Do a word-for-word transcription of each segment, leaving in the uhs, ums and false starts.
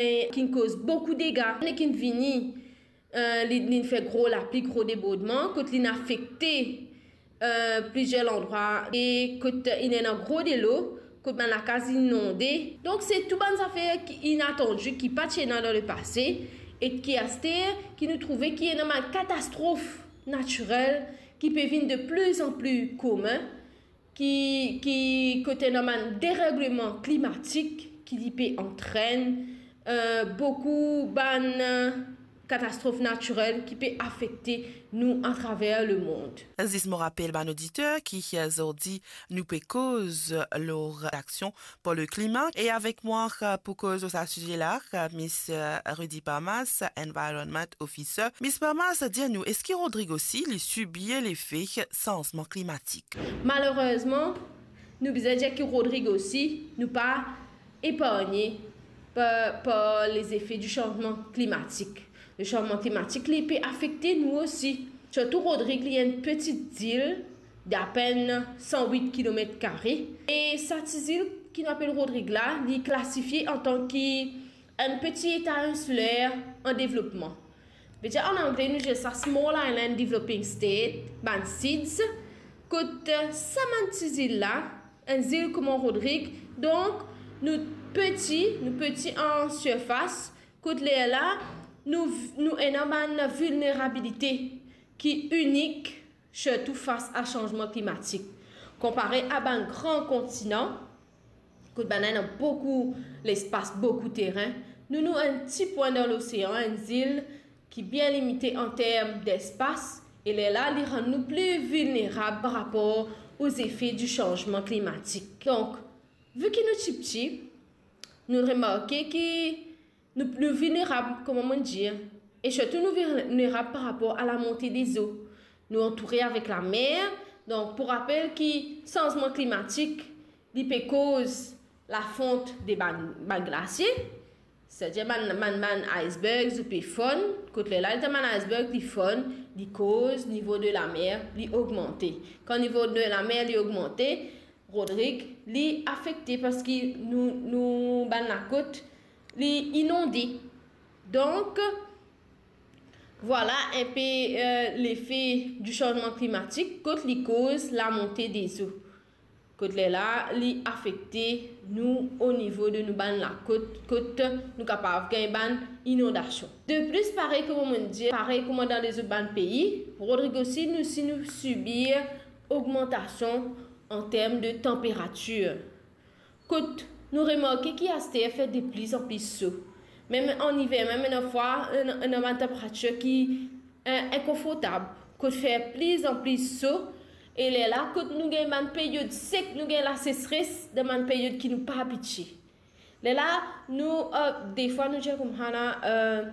e ki'nn koz boukou dega, e ki'nn vini, eh, li, li'nn fer gro lapli, gro debordman, kot li'nn afekte, eh, plizier landrwa, e kot inn ena gro delo, kot bann lakaz inonde. Donk, se tou bann zafer ki inatandi, ki pa ti ena dan lepase, e ki aster, ki nou trouve ki ena bann katastrof natirel ki pe vinn de pli an pli komin, ki, ki kot ena bann deregleman klimatik ki li pe antrenn, eh, boukou bann, eh, katastrof natirel ki pe afekte nou atraver lemond. Zis mo rapel bann oditer ki, eh, zordi nou pe koz lor Action pour le Climat. E avek mwa, eh, pou koz lor sa size la, eh, Miss, eh, Rudy Parmas, Environment Officer. Miss Parmas, dir nou, eski Rodrig osi li sibir lefe sanzman klimatik? Malerezman, nou bizin dir ki Rodrig osi, nou pa epargne par, par lezefe di sanzman klimatik. Lesanzman klimatik, li pe afekte nou osi. Sirtou Rodrig, li enn peti zil d'apenn san wit kilomet kare. E sa ti zil ki nou apel Rodrig la, li klasifie antan ki enn peti eta insiler an devlopman. Vedir, an angle, nou dir sa small island developing state, bann SIDS, kot, eh, sa bann ti zil la, enn zil kouma Rodrig, donk nou peti, nou peti an sirfas, kot lerla nou, nou ena bann vilnerabilite ki inik, sirtou fas a sanzman klimatik. Konpare a bann gran kontinan, kot bann ena boukou lespas, boukou terin, nou, nou enn ti pwin dan losean, enn zil ki bien limite an term despas, e lerla li rann nou pli vilnerab par rapor o zefe di sanzman klimatik. Donk, vi ki nou tipti, nou remarke ki nou, nou vilnerab, kouma mo dir, e sirtou nou vilnerab par rapor a lamonte dezo. Nou antoure avek lamer, donk pou rapel ki sanzman klimatik, li pe koz lafont de bann, bann glasie, setadir bann, bann, bann icebergs ou pe fonn, kot lerla letan bann iceberg li fonn, li koz nivo de lamer li ogmante. Kan nivo de lamer li ogmante, Rodrig, li afekte parski nou, nou bann lakot, li inonde. Donk, vwala enpe, eh, lefe di sanzman klimatik, kot li koz lamonte dezo. Kot lerla, li afekte nou o nivo de nou bann lakot, kot nou kapav gagn bann inondasion. De plis, parey kouma mo dir, parey kouma dan lezot bann pei, Rodrig osi, nou, si nou sibir ogmantasion an term de tanperatir. Kot nou remarke ki aster fer de plis an plis so. Mem an iver, mem ena fwa, ena, ena bann tanperatir ki, eh, inkonfortab. Kot fer plis an plis so, e lerla, kot nou gagn bann period sek, nou gagn lasesres dan bann period ki nou pa abitie. Lerla, nou, eh, defwa nou dir koumsa la, eh,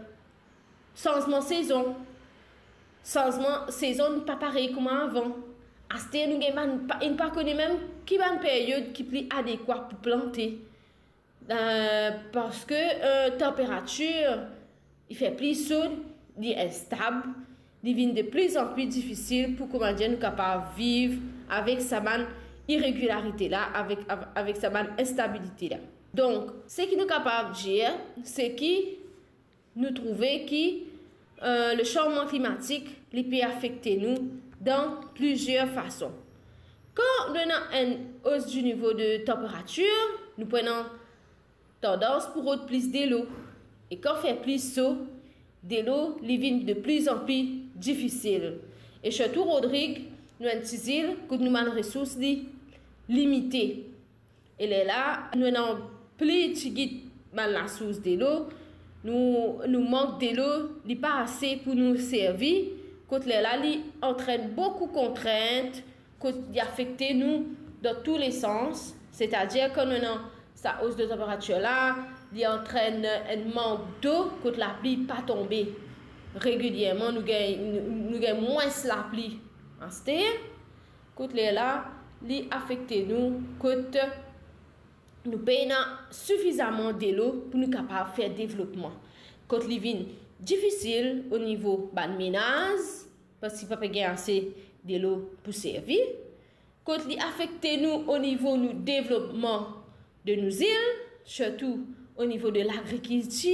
sanzman sezon. Sanzman sezon pa parey kouma avan. Aster nou gagn bann, pa, nou pa kone mem ki bann period ki pli adekwa pou plante. Eh, parski, eh, tanperatir, li fer pli so, li instab, li vinn de plis an pli difisil pou, kouma dir, nou kapav viv avek sa bann iregilarite la, avek, av-, avek sa bann instabilite la. Donk, seki nou kapav dir, se ki nou trouve ki, eh, lesanzman klimatik, li pe afekte nou dan plizier fason. Kan nou ena enn os di nivo de tanperatir, nou pou ena tandans pou rod plis delo. E kan fer pli so, delo, li vinn de plis an pli difisil. E sirtou Rodrig, nou enn ti zil kot nou bann resours li limite. E lerla, nou ena pli tigit bann lasours delo, nou, nou mank delo, li pa ase pou nou servi, kot lerla, li antrenn boukou kontrint, kot li afekte nou dan tou le sans, setadir kan nou ena sa os de tanperatir la, li antrenn enn mank dlo, kot lapli pa tonbe regilierman, nou gagn, nou, nou gagn mwins lapli aster, kot lerla, li afekte nou, kot nou pena sifizaman delo pou nou kapav fer devlopman. Kot li vinn difisil o nivo bann menaz, parski pa pe gagn ase delo pou servi. Kot li afekte nou o nivo nou devlopman de nou zil, sirtou Au niveau de l'agriculture,